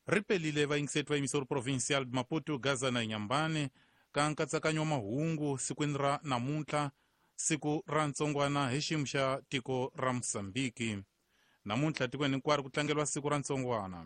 Ri pelile vayingiseti va yingiseri Provincial Maputo, Gaza na Inyambane ka nkatsakanyo wa mahungu sikwini ra namuntlha, siku ra ntsongwana hi xiyimo xa tiko ra Mosambiki. Namuntlha tikweni hinkwaro ku tlangeriwa siku ra ntsongwana.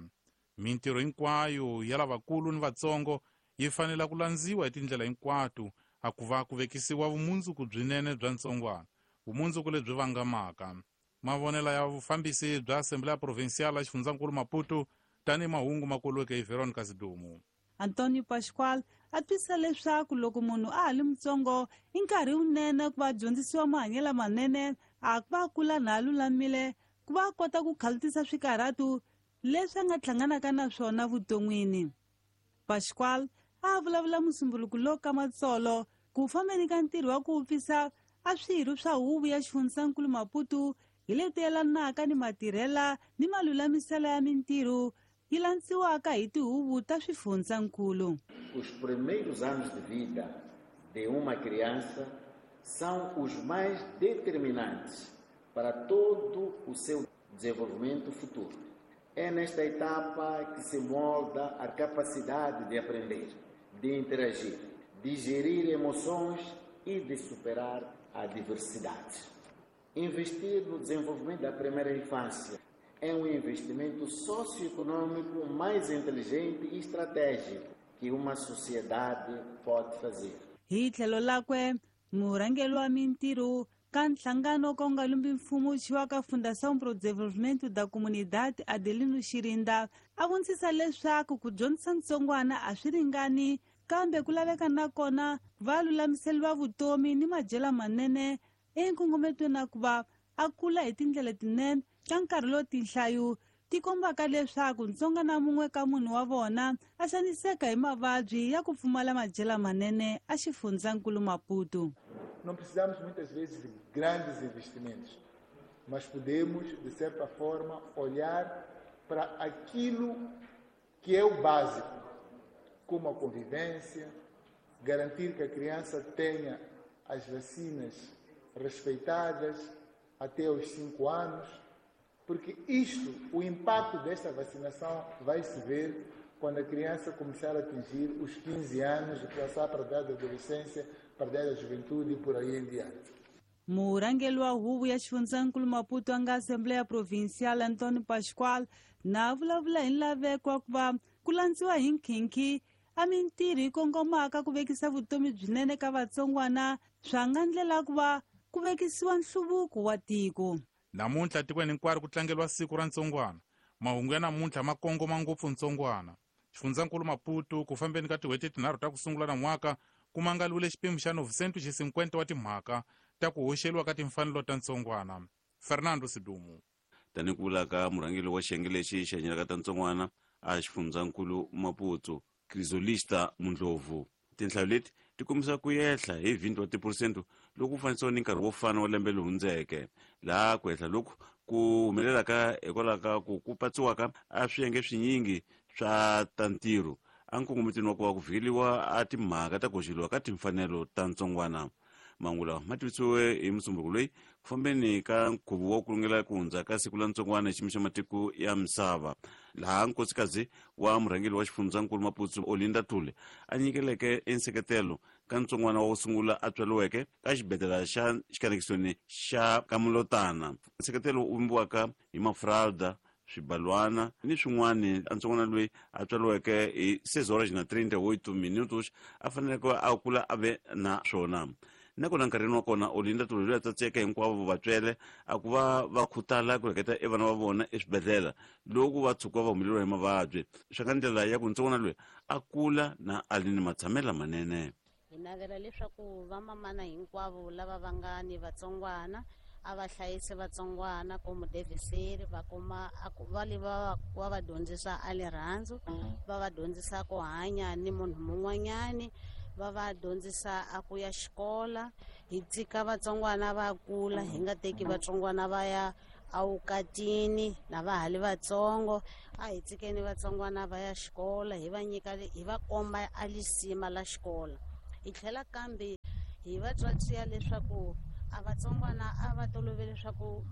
Mintirho hinkwayo ya lavakulu ni vatsongo yi fanela ku landziwa hi tindlela hinkwato a ku va ku vekisiwa vumundzuku byinene bya ntsongwana, vumundzuku lebyi vangamaka. Mavonelo ya vufambisi bya Assembleya Provincial ya xifundzankulu Maputo tanihi mahungu ma koliweke hi Veronica Zidumu. Antonio Pascual a twisisa leswaku loko munhu a ha li mutsongo i nkarhi wunene ku va dyondzisiwa mahanyelo lamanene, a ku va a kula na a lulamile ku va a kota ku khalutisa swikarhatu leswi a nga hlanganaka na swona vuton'wini. Pascual a vulavula musumbuluku lowu ka matsolo ku fambeni ka ntirho wa ku vupfisa a swirho swa huvo ya xifundzankulu Maputo hi leti yelanaka ni matirhela ni malulamiselo ya mintirho yi landziwaka hi tihuvo ta swifundzankulu. Os primeiros anos de vida de uma criança são os mais determinantes para todo o seu desenvolvimento futuro. É nesta etapa que se molda a capacidade de aprender, de interagir, de gerir emoções e de superar adversidades. Investir no desenvolvimento da primeira infância é um investimento socioeconômico mais inteligente e estratégico que uma sociedade pode fazer. Hi tlhelo lakwe, murhangeri wa mintirho ka nhlangano ka wu nga lumbi mfumo wu thyiwaka Fundação pro Desenvolvimento da Comunidade, Adelino Xirinda, a vonisa leswaku ku dyondzisa ntsongwana a swi ringani, kambe ku laveka na kona va lulamiseriwa vutomi ni madyelo manene enkongometweni na ku va a kula hi tindlela tinene ka nkarhi lowu tinhlayo ti kombaka leswaku ntsonga na mun'we ka munhu wa vona a xaniseka hi mavabyi ya ku pfumala madyelo manene a xifundzankulu Maputo. Não precisamos muitas vezes de grandes investimentos, mas podemos, de certa forma, olhar para aquilo que é o básico, como a convivência, garantir que a criança tenha as vacinas respeitadas até os 5 anos, porque isto, o impacto desta vacinação vai se ver quando a criança começar a atingir os 15 anos e passar para a idade da adolescência, para a idade da juventude e por aí em diante. Murhangeri wa huvo ya xifundzankulu Maputo a nga Assembleya Provincial Antonio Pascual na vulavula hi nlaveko wa ku va ku landziwa hi nkhinkhi a mintirho yi kongomaka ku vekisa vutomi byinene ka vatsongwana swa nga ndlela ku va ku vekisiwa nhluvuko wa tiko. Namuntlha tikweni hinkwaro ku tlangeriwa siku ra ntsongwana. Mahungu ya namuntlha ma kongoma ngopfu ntsongwana. Xifundzankulu Maputo ku fambeni ka tin'hweti tinharhu ta ku sungula nan'waka ku mangaliwile xipimo xa 950 wa timhaka ta ku hoxeliwa ka timfanelo ta ntsongwana. Fernando Sidumu. Tanihi ku vula ka murhangeri wa xiyenge lexi xi hanyelaka ta ntsongwana a xifundzankulu Maputo, Crisolista Mundlovu, tinhlayo leti ti kombisa ku yehla hi 20 wa tiphurosente loko ku fanisiwa ni nkarhi wo fana wa lembe leri hundzeke, laha ku hehla loku ku humelelaka hikwalaho ka ku ku patsiwaka a swiyenge swinyingi swa ta ntirho a nkongometweni wa ku va ku vhikeliwa a timhaka ta ku hoxeliwa ka timfanelo ta ntsongwana. Mahungu lawa ma tivisiwe hi Musumbuko loyi ku fambeni ka nkhuvo wa ku lungela ku hundza ka siku la ntsongwana hi xiyimo xa matiko ya misava, laha nkosikazi wa murhangeri wa xifundzankulu Maputo Olinda Thule a nyikeleke enseketelo ka ntsongwana wa ku sungula a tswariweke ka xibedhlele xa xikanekisoni xa Kamulotana. Nseketelo wu vumbiwaka hi mafralda, swibalwana ni swin'wana. Ntsongwana loyi a tswariweke hi 6 horas na 38 minutos a faneleke a kula a ve na swona. Nakona nkarhini wa kona Olinda Thule loyi a tsatseke hinkwavo vatswele a ku va va khutala ku reketa e vana va vona eswibedhlele loko va tshuka va humeleriwa hi mavabyi, swi nga ndlela ya ku ntsongwana loyi a kula na a ri ni matshamelo lamanene. Hi navela leswaku vamamana hinkwavo lava va nga ni vatsongwana a va hlayise vatsongwana komu deviseri, va kuma a ku va le va va va dyondzisa a rirhandzu, va va dyondzisa ku hanya ni munhu mun'wanyani, va va dyondzisa a ku ya xikola. Hi tshika vatsongwana va kula, hi nga teki vatsongwana va ya awukatini na va ha li vatsongo. A hi tshikeni vatsongwana va ya xikola, hi va nyika, hi va komba a lisima la xikola. Hi tlhela kambe hi va tswatsiya leswaku a vatsongwana a va tolovele leswaku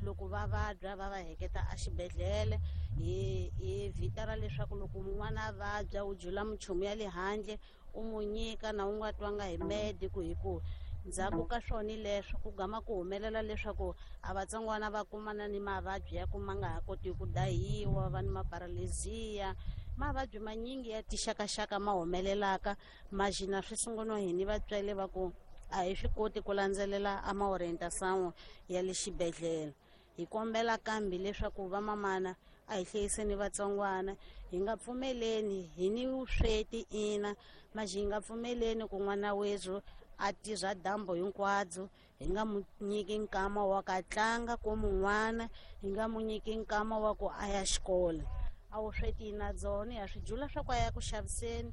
Loko va vabya va va heketa exibedhlele hi vhita ra leswaku loko n'wana a vabya u jula minchumu ya le handle u n'wi nyika na u nga twanga hi medico, hi ku ndzhaku ka swona leswo ku gama ku humelela leswaku a vatsongwana va kumana ni mavabyi ya ku ma nga ha koti ku dahiwa, va ni maparalezia, mavabyi manyingi ya tixakaxaka ma humelelaka majina swi sunguriwa hi ni vatswari va ku a hi swi koti ku landzelela a ma-orientation ya le xibedhlele. Hi kombela kambe leswaku vamamana a hi hlayiseni vatsongwana, hi nga pfumeleni hi ni vusweti ina maxi hi nga pfumeleni ku n'wana wethu a tirha dyambu hinkwabyo, hi nga mu nyiki nkama wa ka tlanga ku mun'wana, hi nga mu nyiki nkama wa ku a ya xikolo. A vusweti na byona ha swi jula swa ku a ya ku xaviseni,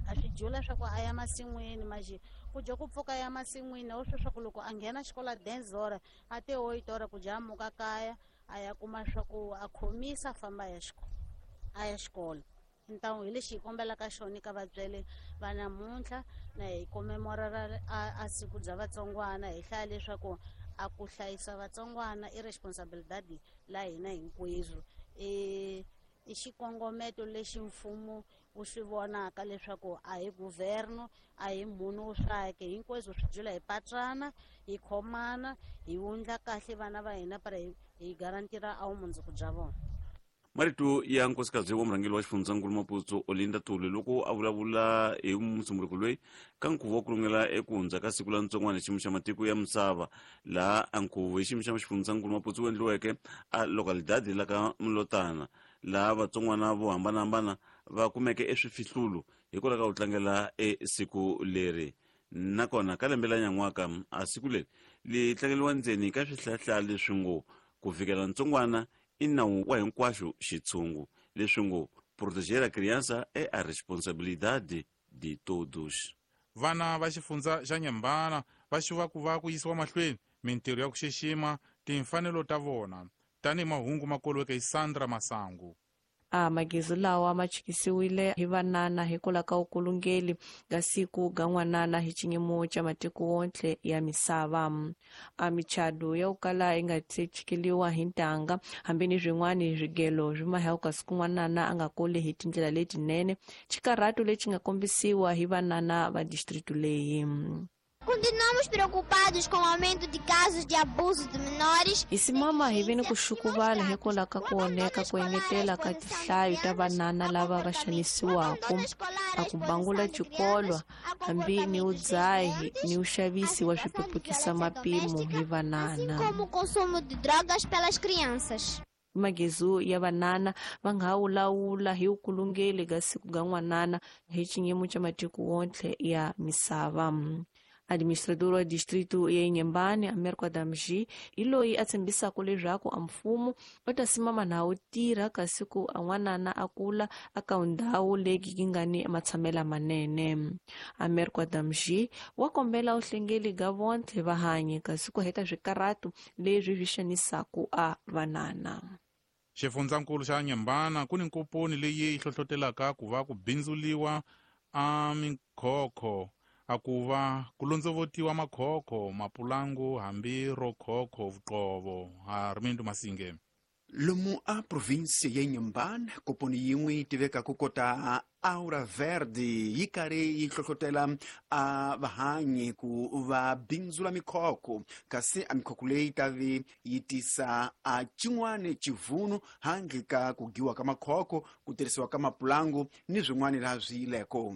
ha swi jula swa ku a ya masin'wini, maxi ku dya ku pfuka ya masin'wini a wu swi swa ku loko a nghena xikolo a denzora a te oitora ku dya muka kaya a ya kuma swa ku a khomisa a famba a ya xikolo. Ntamu hi lexi hi kombelaka xona ka vatswari va namuntlha na hi comemorera a siku bya vatsongwana, hi hlaya leswaku a ku hlayisa vatsongwana i responsibilidade la hina hinkwerhu, i xikongometo lexi mfumo wu swi vonaka leswaku a hi governo a hi munhu wo swake, hinkwaswo swi jula hi patsana, hi khomana, hi wundla kahle vana va hina para hi garantira a vumundzuku bya vona. Marito ya nkosikazi wa murhangeri wa xifundzankulu Maputo Olinda Tuli loko a vulavula hi musunguriko loyi ka nkhuvo wa ku lungela eku hundza ka siku la ntsongwana xiyimo xa matiko ya misava, laha a nkhuvo hi xiyimo xa xifundzankulu Maputo wu endliweke a localidade la ka Mlotana, laha vatsongwana vo hambanahambana va kumeke eswifihlulo hikwalaho ka ku tlangela e siku leri. Nakona ka lembe la nyan'waka a siku leri li tlangeriwa ndzeni ka swihlahla leswi ngo ku fikela ntsongwana i nawu wa hinkwaxo xitshungu, leswi ngo proteger a criança é a responsabilidade de todos. Vana va xifundza xa Nyembana va xuva ku va ku yisiwa mahlweni mintirho ya ku xixima timfanelo ta vona, tanihi mahungu ma koliweke hi Sandra Masangu. A magezi lawa ma chikisiwile hi vanana hikwalaho ka vukulungeli ga siku ga n'wanana hi xiyimo xa matiko wontle ya misava. A michado ya ku kala yi nga se chikeliwa hi ntanga, hambi ni swin'wana swigelo swi mahewuka siku n'wanana a nga kuli hi tindlela letinene, xikarhato lexi nga kombisiwa hi vanana va district leyi. Continuamos preocupados com o aumento de casos de abuso de menores. Hi simama hi vini ku xukuvala hikwalaho ka ku onheka ku engetela ka tinhlayo ta vanana lava va xanisiwaka, a ku bangula xikolo hambi ni vudzahi ni vuxavisi wa swipepukisa mapimo hi vanana. Como o consumo de drogas pelas crianças. Magezu ya vanana va nga ha wulawula hi vukulungeli ga siku ga n'wanana hi xiyimo xa matiko wontle ya misava. Administrador wa distrito ya Inhambane, Américo Adamji, hi loyi a tshembisaka leswaku a mfumo u ta simama na wu tirha kasi ku a n'wanana a kula eka ndhawu leyi yi nga ni matshamelo manene. Américo Adamji wa kombela vuhlengeli ga vontlhe va hanye kasi ku heta swikarhato leswi swi xanisaka a vanana. Xifundzankulu xa Nyembana ku ni nkoponi leyi yi hlohlotelaka ku va ku bindzuliwa a mikhokho, a ku va ku londzovotiwa makhokho, mapulangu hambi ro khokho vuqovo. Armindo Masinge. Lomu a provinsia ya Inhambane, koponi yin'we yi tivekaka kota Aura Verde yi karhi yi hlohlotela a vahanyi ku va bindzula mikhokho, kasi a mikhokho leyi ta vi yi tisa a xin'wana xivunu handle ka ku giwa ka makhokho, ku tirhisiwa ka mapulangu ni swin'wana laha swi yileko.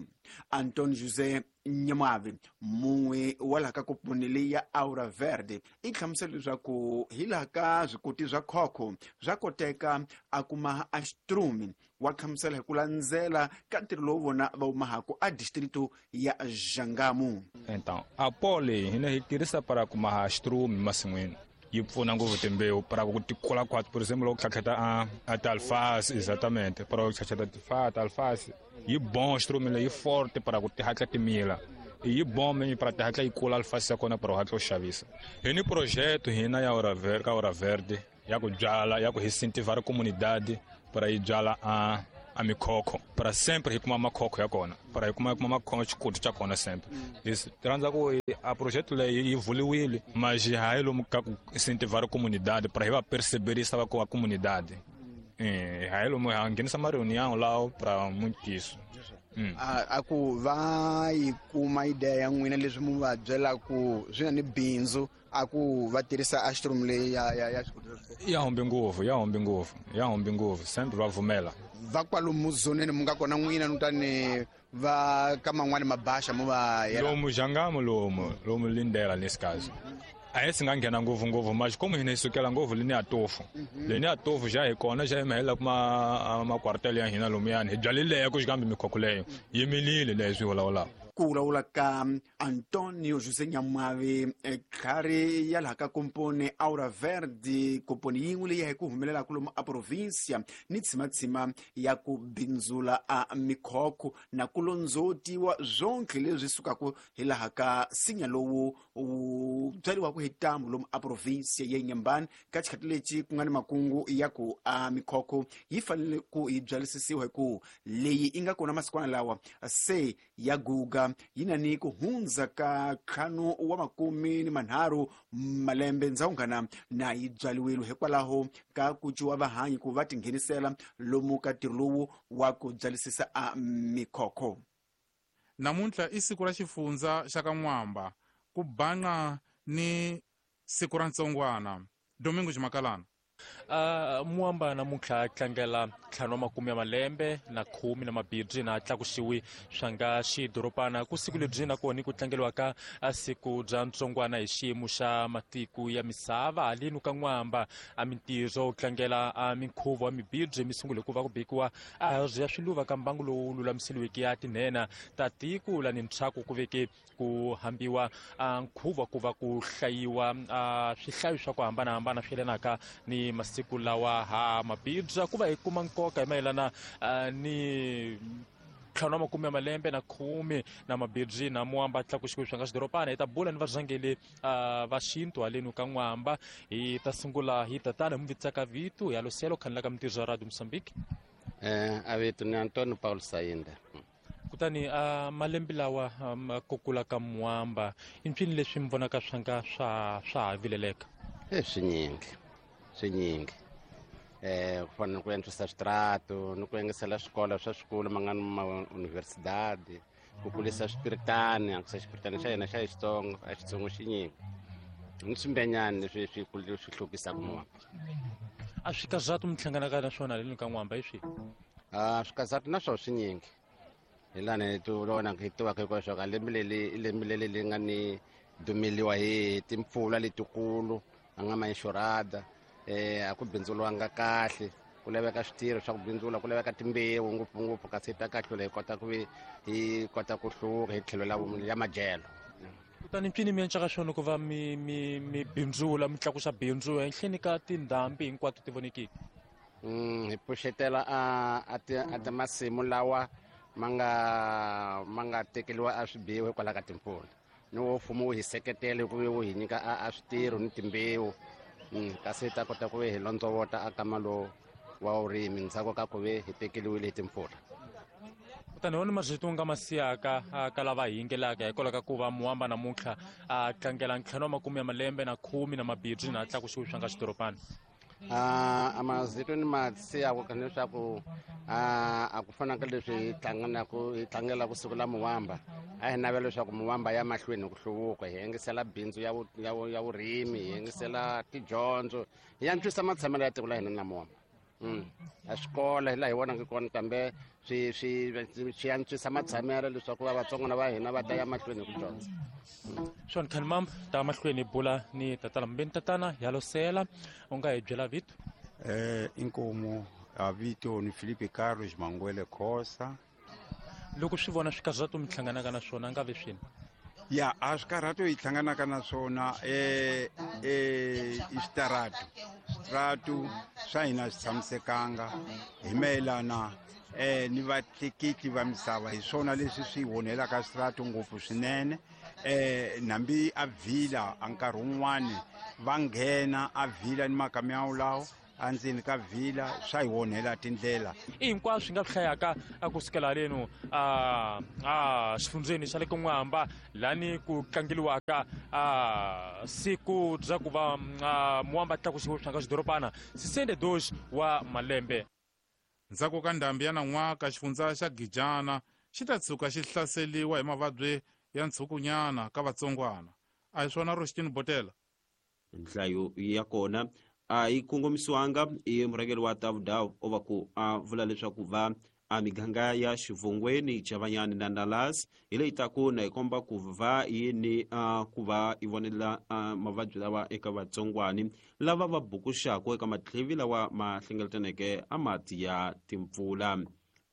Antonio José Nyamavi, mun'we wa laha ka koponi leyi ya Aura Verde, i hlamusela leswaku hi laha ka swikoti swa khokho swa koteka a kuma a xitrumi. Wa hlamusela hi ku landzela ka ntirho lowu vona va wu mahaka a distrito ya Xangamu. Então, a pole hina hi tirhisa para kumaha xitrumi masin'wini, yi pfuna ngopfu timbewu para ku ti kula khwatsi. Por exemplo, loko tlhatlheta a ti-alface, exatamente, para ku tlhatlheta ti-alface yi bon xitrumi leyi forte para ku ti hatla ti mila, yi bon menye para ti hatla yi kula alface ya kona para u hatla u xavisa. Hi ni projeto hina ya Aura Verde, ka Aura Verde ya ku byala, ya ku incentivar a comunidade para yi byala a a mikhokho para sempre hi kuma makhokho ya kona para hi kuma makhokho xikuti xa kona sempre. Hi rhandza ku a project leyi yi vuliwile mas hayi lomu ka ku incentivar comunidade para hi va perceberisa va ku a comunidade. Hayi lomu ha nghenisa ma reunião lá para muito isso. A ku va yi kuma idea ya n'wina leswi mu va byela ku swi na ni bindzu a ku va tirhisa ashroom leyi ya ya humbi ngopfu sempre va vumela va kwalomu zoneni mu nga kona n'wina nutani va ka man'wani mabaxa mu va yela lomu Jangamo lomu Lindela nesse caso. A esse nga nghena ngopfu mas como hina hi sukela ngopfu leni ya tofu leni ya tofu já hi kona já hi mahela kuma makwartele ya hina lomuyani hi byalile ku xikambe mikhokho leyo yi milile leswi vulavulaka. Ku vulavula ka Antonio José Nyamwavi khari ya laha ka komponi Aura Verde, komponi yin'we leyi hi ku humelelaka lomu a provincia ni tshimatshima ya ku bindzula a mikhokho na ku londzotiwa swonke leswi sukaka hi laha ka nsinya lowu wu byariwaka hi ntambu lomu a provincia ya Inhambane. Ka xikhathi lexi ku nga ni makungu ya ku a mikhokho yi fanele ku yi byalisisiwa hi ku leyi yi nga kona masikwana lawa se ya guga yi na ni ku hundza ka 53 malembe ndzawungana na yi byaliwile hikwalaho ka ku ciwa vahanyi ku va tinghenisela lomu ka ntirho lowu wa ku byalisisa a mikhokho. Namuntlha i siku ra xifundza xa ka N'wamba ku banqa ni siku ra ntsongwana. Domingo Ximakalana. Muamba namuntlha tlangela 50 ya malembe na 10 na mabibyi na tlakusiwi swa nga xidorobana ku siku lebyi na kona ku tlangeliwa ka siku bya ntsongwana hi xiyimo xa matiko ya misava haleni ka N'wamba a mintirho tlangela a minkhuvo wa mibibyi misungule ku va ku bikiwa a ya swiluva ka mbangu lowu lulamiseliweke ya tinhena ta tiko la ni ntshaku ku veke ku hambiwa nkhuvo ku va ku hlayiwa swihlayo swa ku hambanahambana swi yelanaka ni masiku lawa ha mabibya ku va hi kuma nkoka hi mayelana ni 50 ya malembe na 10 na mabibyi na Muamba tlakusiwe swa nga xidorobana. Hi ta bula ni varhangeli va xintu haleni ka N'wamba. Hi ta sungula hi tatana hi muvitsaka vito ya Loselo khanela ka mintirho ya Radio Mozambique. A vito ni Antonio Paulo Sainda. Kutani malembe lawa ku kula ka Muamba i mpfini leswi mi vonaka swa nga swa ha vileleka? Swinyingi ku fana ni ku antswisa switrato ni ku engesela swikolo swa swikolo ma nga ni mauniversidade ku kulisa swipiritani ankusa xipiritani xa hina xa Xitsonga a Xitsongo xinyingi ni swimbenyani leswi swi hlukisaka Muamba. A swikazatu mi hlanganaka na swona haleni ka N'wamba hi swihi? Swikazatu na swona swinyingi hi lani hi tivona hi tivaka hinkwaswo ka lembe leri i lembe leri leri nga ni dumeliwa hi timpfula letikulu a nga ma inxurada a ku bindzuriwanga kahle ku laveka switirho swa ku bindzula ku laveka timbewu ngopfungopfu kasi ta kahlula hi kota ku hi kota ku hluka hi tlhelo la ya madyelo. Kutani mpfini mi encaka swona ku va mi bindzula mi tlakusa bindzu ehenhleni ka tindhambi hinkwato ti vonekiki? Hi pfuxetela a masimu lawa ma nga tekeriwa a swibiwa hikwalaho ka timpfula ni wo mfumo wu hi seketela hi ku wu hi nyika a switirho ni timbewu kasi hi ta kota ku ve hi londzovota a kama lowu wa vurimi ndzhaku ka ku ve hi tekeriwile hi timpfula. Kutani wona marito nga ma siyaka ka lava hi yingelaka hikwalaho ka ku va Muamba namuntlha a tlangela 50 ya malembe na 10 na mabibyi na tlakusiwe swa nga xidorobana? A mazito ni ma siyaka leswaku a ku fana ka leswi hi tlangelaka siku la Muamba a hi navela leswaku Muamba ya mahlweni ku hluvuka hi engesela bindzu ya vurimi hi engesela tidyondzo hi antswisa matshamelo ya tiko la hina na Muamba. A swikolo hi laha hi vonaka kona kambe swi antswisa matshamelo leswaku va vatsongwana va hina va ta ya mahlweni hi ku dyondza. Swona Khanimam ta mahlweni hi bula ni tatana mbeni tatana ya Losela u nga hi byela vito? Inkomo a vito ni Felipe Carlos Manguele Khosa. Loko swi vona swikarhato mi hlanganaka na swona nga ve swini? Ya a swikarhato hi hlanganaka na swona i switaratu swa hina swi tshamisekanga hi mayelana ni vatleketli va misava hi swona leswi swi onhelaka switaratu ngopfu swinene. Nambi a vhila a nkarhi wun'wani va nghena a vhila ni makamiyawu lawo Endzeni ka vhila swa hi onhela tindlela. I hinkwaswo swi nga swi hlayaka a kusukela haleno a xifundzeni xa le Kun'wamba lani ku tlangeliwaka a siku bya ku va Muwamba tlakusiwe swi nga xidorobana 62 wa malembe. Ndzhaku ka ndhambi ya nan'waka xifundza xa Gijana xi ta tshuka xi hlaseliwa hi mavabyi ya ntshukunyana ka vatsongwana. A hi swona Roshtini Botela? Nhlayo ya kona a yi kongomisiwanga i murhangeri wa Tavudawu o va ku a vula leswaku va a miganga ya Xivongweni, Chavanyani na Nalas hi leyi taku na yi komba ku va yini ku va yi vonela mavabyi lawa eka vatsongwani lava va bukuxaka eka matlhevi lawa ma hlengeletaneke a mati ya timpfula.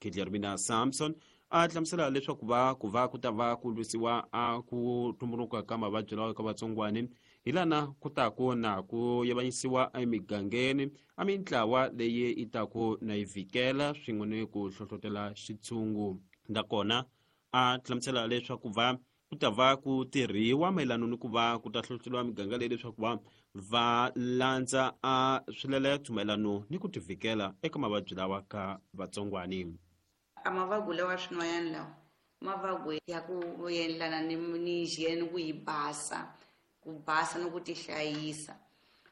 Guillermina Samson a hlamusela leswaku va ku va ku ta va ku lwisiwa a ku tumbuluka ka mavabyi lawa eka vatsongwani hi lana ku taku na ku yavanyisiwa emigangeni a mintlawa leyi yi taku na yi vhikela swin'we ni ku hlohlotela xitshungu. Nakona a hlamusela leswaku va ku ta va ku tirhiwa mayelana ni ku va ku ta hlohloteliwa miganga leyi leswaku va va landza a swileleto mayelano ni ku tivhikela eka mavabyi lawa ka vatsongwani. A mavabyi lawa swin'wanyana lawa mavabyi ya ku endlana ni hygiene, ku yi basa, ku basa ni ku tihlayisa.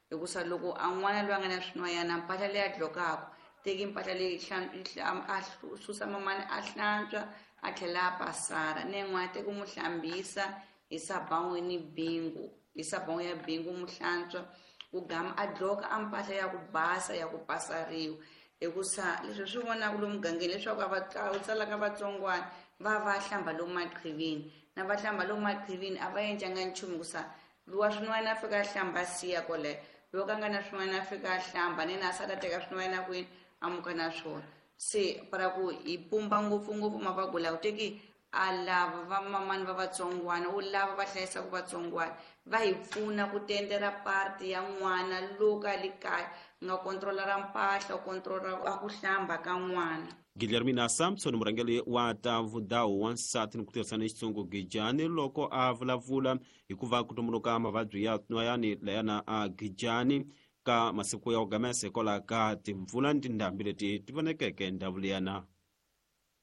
Hikusa loko a n'wana loyi a nga na swin'wanyana mpahla leyi a dlokaka, teki mpahla leyi a susa mamani a hlantswa a tlhela a pasara, ni yin'wana teki n'wi hlambisa hi sabawu ni bingu, hi sabawu ya bingu n'wi hlantswa ku gama a dloka a mpahla ya ku basa ya ku pasariwa. Hikusa leswi swi vonaka lomu mugangeni leswaku a va tsalaka vatsongwana va va hlamba lomu maqhivini, na va hlamba lomu maqhivini a va endlanga nchumu hikusa luwa swin'wana a fika a hlamba siya kwale, loko a nga na swin'wana a fika a hlamba ni na a sala teka swin'wana kwini a muka na swona. Se para ku hi pumba ngopfungopfu mavabyi lawa teki a lava va mamani va vatsongwana u lava va hlayisaka vatsongwana va hi pfuna ku tendera parti ya n'wana loko a le kaya nga kontrola ra mpahla, kontrola a ku hlamba ka n'wana. Guillermina Samson murhangeri wa Tavudawu wa nsati ni ku tirhisana Xitsongo Gijani loko a vulavula hikuva ku tumbuluka mavabyi ya nwayani layana a Gijani ka masiku ya ugamese kwala ka timpfula ni tindhambi leti ti vonekeke ndhawu liyana.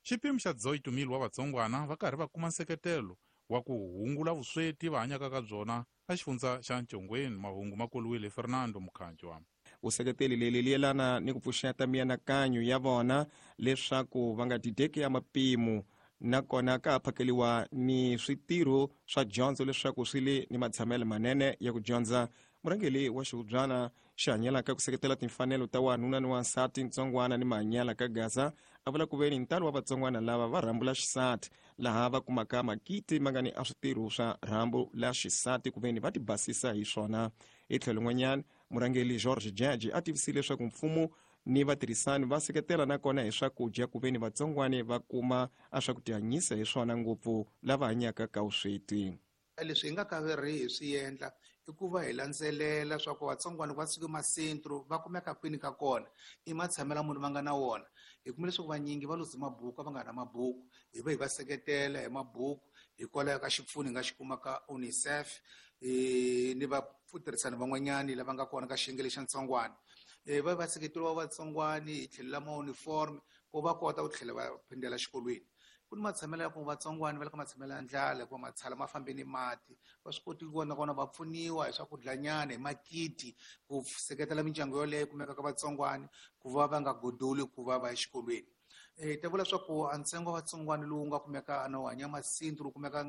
Xipimo xa 18,000 wa vatsongwana va karhi va kuma nseketelo wa ku hungula vusweti va hanyaka ka byona a xifundza xa Ntshongweni. Mahungu ma koliwile Fernando Mukhanjwa. Vuseketeli leri li yelana ni ku pfuxeta mianakanyo ya vona leswaku va nga dideki ya mapimo, nakona ka phakeliwa ni switirho swa dyondzo leswaku swi le ni matshamelo manene ya ku dyondza. Murhangeri wa xihubyana xi hanyelaka ku seketela timfanelo ta wanuna ni wansati ntsongwana ni mahanyela ka Gaza a vula ku veni ntalo wa vatsongwana lava va rhambu la xisati laha va kumaka makiti ma nga ni a switirho swa rhambu la xisati ku veni va tibasisa hi swona. Hi tlhelo n'wanyana murhangeri George Jaji a tivisile leswaku mfumo ni vatirhisani va seketela nakona hi swakudya ku veni vatsongwani va kuma a swa ku tihanyisa hi swona ngopfu lava hanyaka ka vusweti. Leswi hi nga ka ri hi swi endla i ku va hi landzelela swa ku vatsongwana va suke masentro va kumeka kwini ka kona, i matshamelo munhu va nga na wona. Hi kume leswaku vanyingi va luze mabuku, a va nga na mabuku, hi va hi va seketela hi mabuku hikwalaho ka xipfuno hi nga xi kuma ka UNICEF ni vatirhisani van'wanyani lava nga kona ka xiyenge lexa ntsongwana. Va va seketeriwa vatsongwani hi tlhelo la ma-uniform ku va kota ku tlhela va phindela xikolweni. Ku ni matshamelo ya ku vatsongwana va le ka matshamelo ya ndlala hikuva matshala ma fambe ni mati, va swi koti ku vona kona va pfuniwa hi swakudlanyana hi makiti ku seketela mindyangu yoleyo kumeka ka vatsongwana ku va va nga godoli ku va va ya exikolweni. Ta vula swa ku a ntsengo wa vatsongwana lowu nga kumeka na wu hanya masintru lowu kumeka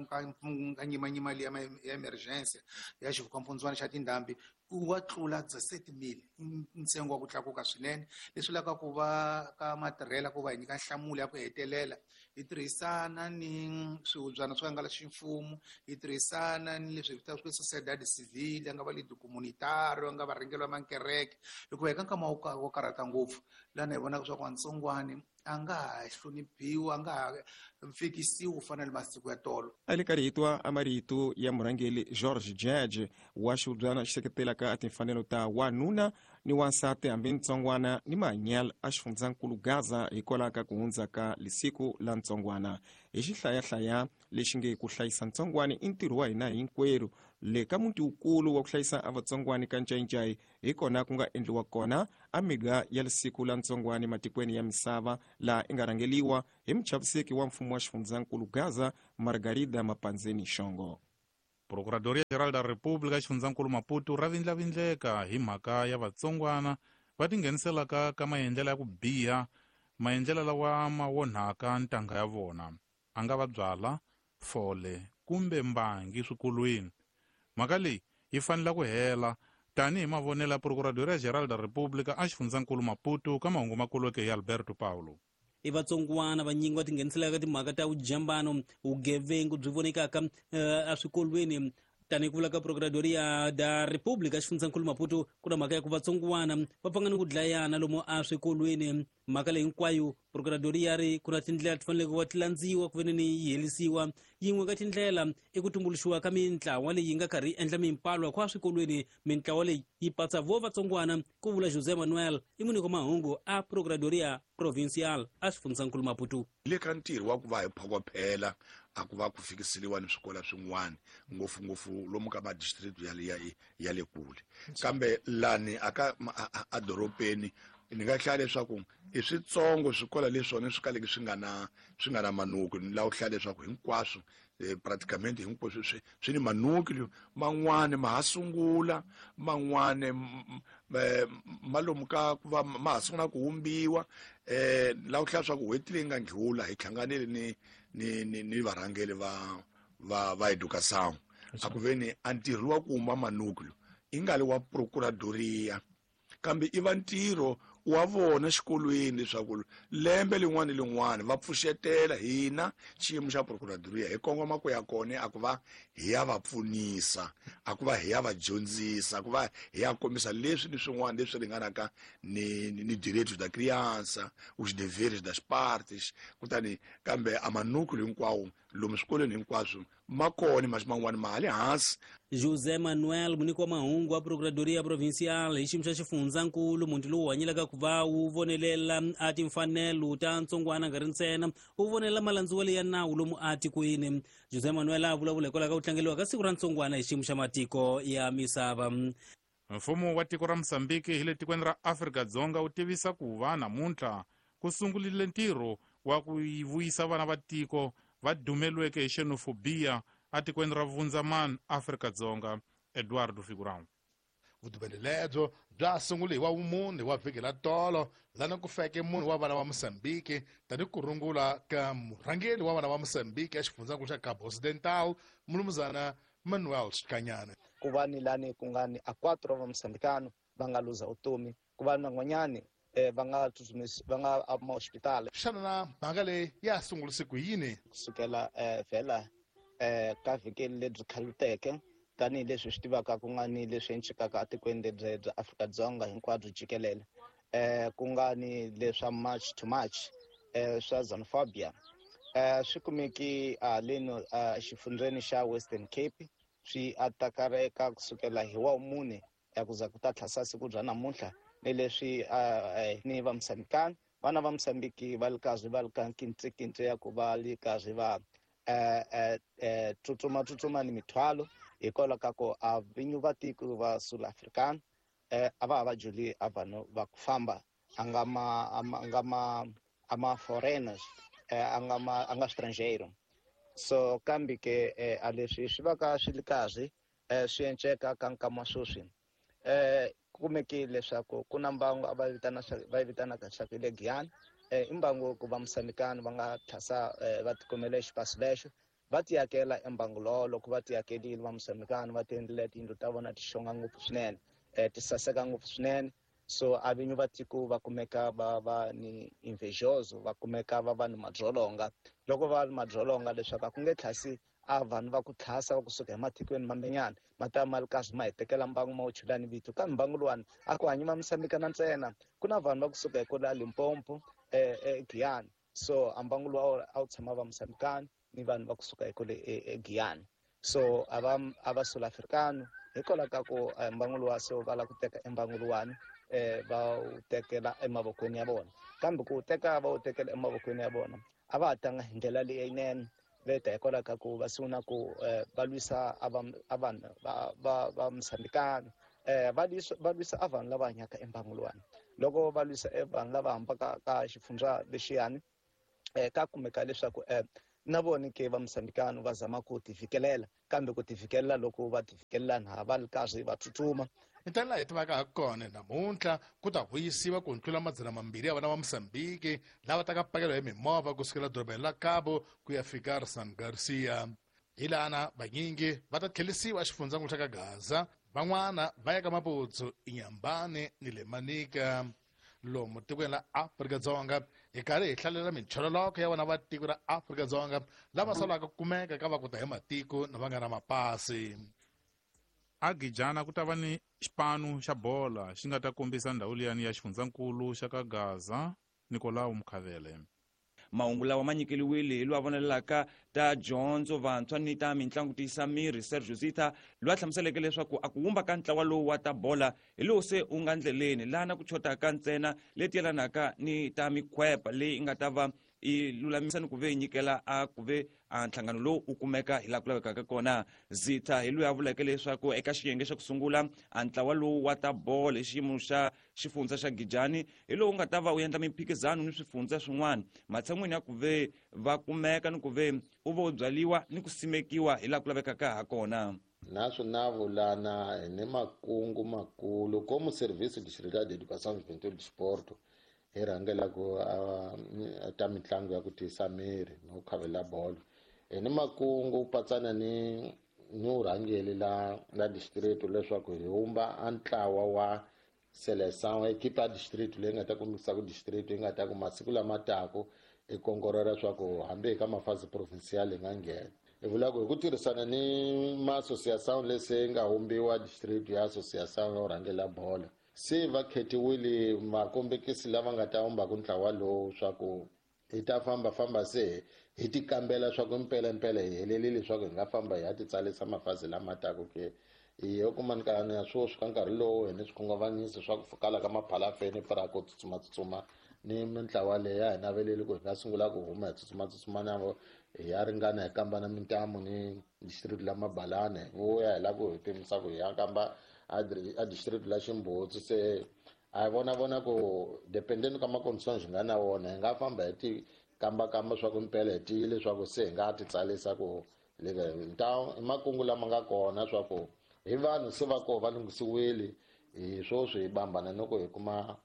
ka nyimanyima liya ya emergency ya xivukampundzwana xa tindhambi wa tlula 17,000, ntsengo wa ku tlakuka swinene. Leswi lavaka ku va ka matirhela ku va hi nyika nhlamulo ya ku hetelela, hi tirhisana ni swihubyana swo hangalasa ximfumo, hi tirhisana ni leswi hi vitanaka sociedade civile, ya nga va lead communitario, ya nga varhangeri va makereke, hikuva hi ka nkama wo karhata ngopfu lana hi vonaka swa ku vatsongwani a nga ha hloniphiwi, a nga ha fikisiwi ku fana ni masiku ya tolo. A le karhi hi twa a marito ya murhangeri George Judge wa xihubyana xi seketelaka a timfanelo ta wanuna ni wansati hambi ntsongwana ni mahanyelo a xifundzankulu Gaza hikwalaho ka ku hundza ka lisiku la ntsongwana. Hi xihlayahlaya lexi nge ku hlayisa ntsongwani i ntirho wa hina hinkwerhu le ka muti wukulu wa ku hlayisa a vatsongwani ka Ncayincayi hi kona ku nga endliwa kona a miga ya lisiku la ntsongwani matikweni ya misava laha i nga rhangeliwa hi muchaviseki wa mfumo wa xifundzankulu Gaza Margarida Mapanzeni Xongo. Procuradoria Geral da República xifundzankulu Maputo ra vindlavindleka hi mhaka ya vatsongwana va tingheniselaka ka maendlelo ya ku biha, maendlelo lawa ma onhaka ntanga ya vona, a nga va byala, fole kumbe mbangi swikolweni. Mhaka leyi yi fanele ku hela tanihi mavonelo ya Procuradoria Geral da República a xifundzankulu Maputo ka mahungu makulweke hi Alberto Paulo. I vatsongwana vanyingi va tingheniselaka timhaka ta vujambano, vugevengu byi vonekaka eswikolweni. Tanihi ku vula ka Procuradoria da República xifundzankulu Maputo, ku na mhaka ya ku vatsongwana va pfanga ni ku dlayana lomu eswikolweni. Mhaka leyi hinkwayo Procuradoria ri ku na tindlela ti faneleke ku va ti landziwa ku veni ni yi herisiwa. Yin'we ka tindlela i ku tumbuluxiwa ka mintlawa leyi nga karhi yi endla mimpalwa kwa swikolweni. Mintlawa leyi yi patsa vo vatsongwana, ku vula José Manuel, i munhu wa mahungu a Procuradoria Provincial a xifundzankulu Maputo. Le ka ntirho wa ku va hi phokophela a ku va ku fikiseliwa ni swikolo swin'wana, ngopfungopfu lomu ka madistrict ya le kule. Kambe lani aka a dorobeni ni nga hlaya leswaku i switsongo swikolo leswona swi kaleke swi nga na manuku. Ni lava ku hlaya leswaku hinkwaswo praticamente hinkwaswo swi ni manuku, man'wani ma ha sungula, man'wani ma lomu ka ku va ma ha sungula ku humbiwa. Lava ku hlaya leswaku n'hweti leyi nga ndlhula hi hlanganile ni varhangeri va educação a ku ve ni a ntirho wa ku huma manuku i nga li wa Procuradoria, kambe i va ntirho wa vona xikolweni leswaku lembe lin'wana ni lin'wana va pfuxetela hina xiyimo xa Procuradoria hi kongoma ku ya kona a ku va hi ya va pfunisa, a ku va hi ya va dyondzisa, a ku va hi ya kombisa leswi ni swin'wana leswi ringanaka ni direitos da criança, os deveres das partes. Kutani kambe a manuku hinkwawo lomu swikolweni hinkwaswo ma kona, mas man'wana ma le hansi. José Manuel, muniki wa mahungu wa Procuradoria Provincial hi xiyimo xa xifundzankulu, muti lowu hanyelaka ku va wu vonelela a timfanelo ta ntsongwana nga ri ntsena wu vonelela malandziwelo ya nawu lomu atikweni. José Manuel a vulavula hikwalaho ka ku tlangeliwa ka siku ra ntsongwana hi xiyimo xa matiko ya misava. Mfumo wa tiko ra Mozambique hi le tikweni ra Afrika-Dzonga wu tivisa ku va namuntlha ku sungurile ntirho wa ku vuyisa vana va tiko va dumeliweke hi xenophobia atikweni ra Vundzamani, Afrika-Dzonga. Eduardo Figurão. Vudumeli lebyo bya sungule hi wa vumune wa vhiki la tolo, lana ku feke munhu wa vana va Mozambique tani ku rungula ka murhangeri wa vana va Mozambique exifundzankulu xa Cabo Occidental, mulumuzana Manuel Xikanyana. Ku va ni lani ku nga ni a 4 va Mozambicano va nga luza vutomi, ku va ni van'wanyani va nga va nga hospital. Xana na mhaka leyi ya sungurise ku yini? Kusukela vhela ka vhiki lebyi khaluteke, tanihileswi swi tivaka ku nga ni leswi encikaka etikweni lebyi bya Afrika-Dzonga hinkwabyo jikelele, ku nga ni leswa March to March swa xenophobia, swi kumeki leno xifundzeni xa Western Cape, swi atakareka kusukela hi wa mune ya ku za ku ta tlhasa siku bya namuntlha. Ni leswi ni va Mozambicano, vana va Mozambique va li karhi va li ka nkintsikintsi ya ku va li karhi va tsutsuma ni mithwalo hikwalaho ka ku a vinyi va tiko va South African a va ha va juli a vanhu va ku famba a nga ma a ma foreigners, a nga ma a nga estrangeiro. So kambe ke a leswi swi va ka swi li karhi swi enceka ka nkama sweswi, kumeke leswaku ku na mbangu a va vitana va vitanaka leswaku le Giyani, i mbangu ku va Mozambicano va nga tlhasa va tikumele xipasi lexo va tiyakela embangu lowo. Loko va tiyakelile va Mozambicano va ti endlile tiyindlu ta vona ti xonga ngopfu swinene, ti saseka ngopfu swinene. So a vinyi va tiko va kumeka va va ni invejoso, va kumeka va va ni madzolonga. Loko va ni madzolonga leswaku a ku nge tlhasi a vanhu va ku tlhasa va kusuka ematikweni mambenyana ma ta ma ri karhi ma hi tekela mbangu ma wu chela ni vito. Kambe mbangu luwani a ku hanyi ma Mozambicana ntsena, ku na vanhu va kusuka hi kwala Limpopo, Giyani. So a mbangu luwa a wu tshama va Mozambicano ni vanhu va kusuka hi kwale eGiyani. So a va South Africano hikwalaho ka ku mbangu luwa so va lava ku teka embangu luwani Va wu tekela emavokweni ya vona, kambe ku teka va wu tekela emavokweni ya vona a va ha tanga hi ndlela leyinene. Veta hikwalaho ka ku va sungula ku va lwisa a vanhu va Mozambikana, va lwisa a vanhu lava hanyaka embangu luwani. Loko va lwisa e vanhu lava hambaka ka xifundza lexiyani, ka kumeka leswaku na vona ke va Mozambikana va zama ku tivikelela, kambe ku tivikelela loko va tivikelela na va ri karhi va tsutsuma. Hi ndlela hi tivaka ha kona namuntlha ku ta vuyisiwa ku tlula 200 ya vana va Mozambique lava taka pakeriwa hi mimovha kusukela dorobeni la Cabo ku ya fika San Garcia. Hi lana vanyingi va ta tlhelisiwa exifundzankulu xa ka Gaza, van'wana va ya ka Maputo, Inhambane ni le Manica. Lomu tikweni la Afrika-Dzonga hi karhi hi hlalela minchololoko ya vana va tiko ra Afrika-Dzonga lava solaka ku kumeka ka va ku ta hi matiko na va nga na mapasi. Agijana ku ta va ni xipano xa bola xi nga ta kombisa ndhawu liyani ya xifundzankulu xa ka Gaza. Nicolau Mkhavele. Mahungu lawa ma nyikeliwile hi loyi a vonelelaka ta dyondzo vantshwa ni ta mitlangu tiyisa miri Sergio Zita, loyi a hlamuseleke leswaku a ku wumba ka ntlawa lowu wa ta bola hi lowu se wu nga ndleleni laha ku chotaka ntsena leti yelanaka ni ta mikhwepa leyi nga ta va yi lulamisa ni ku ve yi nyikela a ku ve a nhlangano lowu wu kumeka hi laha ku lavekaka kona. Zitha hi loyi a vuleke leswaku eka xiyenge xa ku sungula a ntlawa lowu wa ta bolo hi xiyimo xa xifundza xa Gijani hi lowu nga ta va wu endla mimphikizano ni swifundza swin'wana matshan'wini ya ku ve va kumeka ni ku ve u va u byaliwa ni ku simekiwa hi laha ku lavekaka ha kona. Naswo na vulana ni makungu makulu como Serviço Distrital de Educação, Juventude e Desporto hi rhangela ku ta mitlangu ya ku tiyisa miri no khavela bolo. Hi ni makungu patsana ni urhangeli la distrito leswaku hi wumba a ntlawa wa seleção equipe ya distrito leyi nga ta kombisa ku distrito yi nga ta ku masiku lama taku i kongorera leswaku hambi hi ka mafasi provincial hi nga nghena. Hi vula ku hi ku tirhisana ni ma-association lesi nga wumbiwa distrito ya association yo rhangela bolo, se va khetiwile makombekisi lava nga ta wumbaku ntlawa lowu swa ku hi ta fambafamba se hi ti kambela swa ku mpelampela hi helelile leswaku hi nga famba hi ya ti tsalisa mafazi lama taku ke. Hi yo kuma ni ya swoswi ka nkarhi lowu hi ni swikhunguvanyiso swa ku kala ka maphalafeni para ku tsutsuma ni mintlawa leyi ya hi naveleli ku hi nga sungula ku huma hi tsutsuma na vo hi ya ringana hi kamba na mintamu ni district la Mabalane, hi vuya hi lava ku hi pimisa ku hi ya kamba a district la Ximbutsi. Se a hi vona ku dependeni ka ma-conditions hi nga na wona hi nga famba hi ti kambakamba swa ku mpela hi tiyile leswaku se hi nga ti tsalisa ku i makungu lama nga kona swa ku hi vanhu se va koho va lunghisiwile hi swoswi hi bambana ni ku hi kuma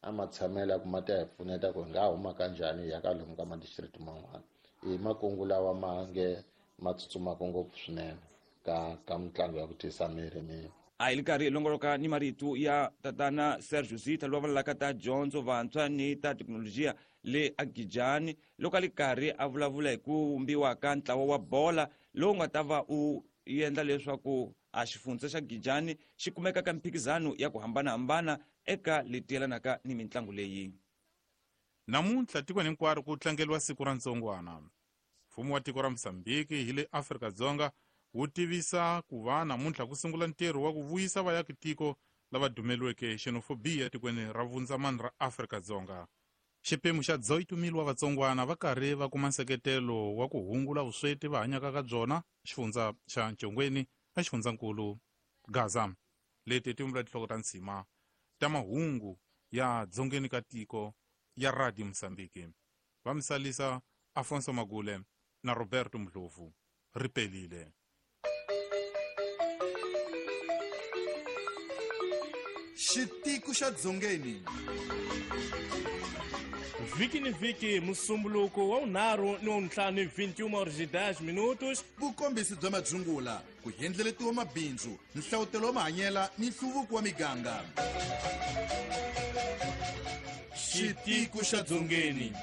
a matshamelo ya ku ma ta hi pfuneta ku hi nga huma ka njhani hi ya ka lomu ka ma-district man'wana. I makungu lawa ma nge ma tsutsumaka ngopfu swinene ka mitlangu ya ku tiyisa miri ni. A hi li karhi hi longoloka ni marito ya tatana Sergio Zitha loyi a vulavulaka ta dyondzo vantshwa ni ta thekinolojiya le Agijani, loko a li karhi a vulavula hi ku wumbiwa ka ntlawa wa bola lowu nga ta va u endla leswaku a xifundza xa Gijani xi kumeka ka mphikizano ya ku hambanahambana eka leti yelanaka ni mitlangu leyi. Namuntlha tikweni hinkwaro ku tlangeriwa siku ra ntsongwana. Mfumo wa tiko ra Mozambique hi le Afrika-Dzonga wu tivisa ku va namuntlha ku sungula ntirho wa ku vuyisa vaakatiko lava dumeliweke xenophobia tikweni ra vundzamani ra Afrika-Dzonga. Xiphemu xa 18,000 wa vatsongwana va karhi va kuma nseketelo wa ku hungula vusweti va hanyaka ka byona xifundza xa Ncongweni na xifundzankulu Gaza. Leti ti vumbula tinhloko ta ntshima ta mahungu ya dzongeni ka tiko ya Radio Mozambique. Va misalisa Afonso Magule na Roberto Mdlovu. Ripelile. Xitiku xa Dzongeni. Vhiki ni vhiki musumbuluko wa 5 ni wa 5 21h10. Vukombisi bya madzungula, ku endleletiwa mabindzu, nhlawutelo wa mahanyela ni nhluvuko wa miganga. Xitiku xa Dzongeni.